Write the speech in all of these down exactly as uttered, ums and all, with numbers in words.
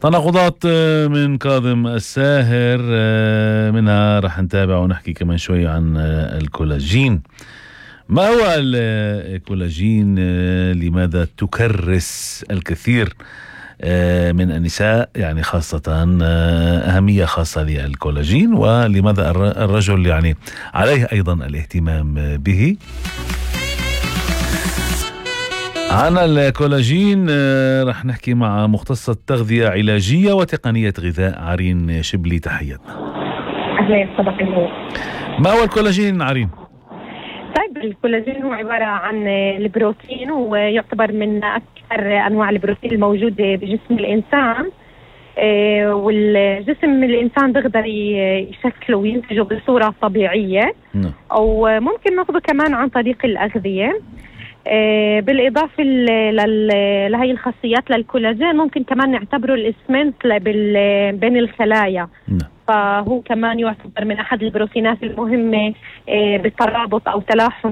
تناقضات من كاظم الساهر، منها رح نتابع ونحكي كمان شوي عن الكولاجين. ما هو الكولاجين؟ لماذا تكرس الكثير من النساء يعني خاصة أهمية خاصة للكولاجين، ولماذا الرجل يعني عليه أيضا الاهتمام به؟ عن الكولاجين رح نحكي مع مختصة تغذية علاجية وتقنية غذاء عرين شبلي. تحياتنا. أهلا صباح النور. ما هو الكولاجين عرين؟ طيب الكولاجين هو عبارة عن البروتين، ويعتبر من أكثر أنواع البروتين الموجودة بجسم الإنسان، والجسم الإنسان بيقدر يشكله وينتجه بصورة طبيعية، أو ممكن ناخده كمان عن طريق الأغذية. بالإضافة لهي الخاصيات للكولاجين ممكن كمان نعتبره الإسمنت بين الخلايا، فهو كمان يعتبر من أحد البروتينات المهمة بالترابط أو تلاحم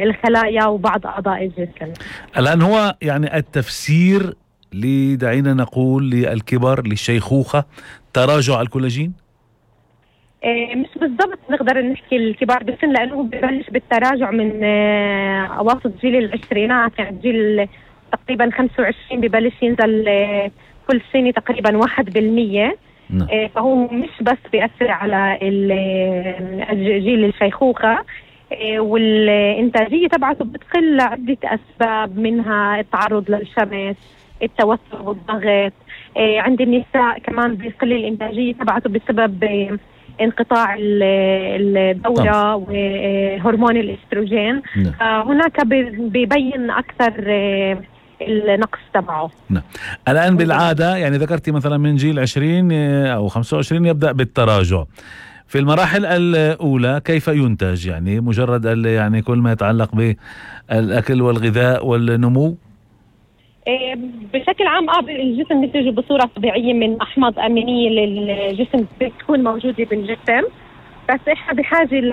الخلايا وبعض أعضاء الجسم. الآن هو يعني التفسير لدعينا نقول للكبر للشيخوخة تراجع الكولاجين؟ مش بالضبط نقدر نحكي الكبار بالسن، لأنه ببلش بالتراجع من أواسط جيل العشرينات، يعني جيل تقريبا خمسة وعشرين ببلش ينزل كل سنة تقريبا واحد بالمية. فهو مش بس بيأثر على جيل الشيخوخة، والإنتاجية تبعته بتقل لعدة أسباب، منها التعرض للشمس، التوتر والضغط. عند النساء كمان بيقل الإنتاجية تبعته بسبب انقطاع الدورة وهرمون الاستروجين. هناك بيبين أكثر النقص تبعه. نعم. الآن بالعادة يعني ذكرتي مثلا من جيل عشرين أو خمسة وعشرين يبدأ بالتراجع. في المراحل الأولى كيف ينتج؟ يعني مجرد يعني كل ما يتعلق بالأكل والغذاء والنمو؟ بشكل عام اه الجسم بينتج بصورة طبيعية من أحماض أمينية للجسم بتكون موجودة بالجسم، بس احنا بحاجة ل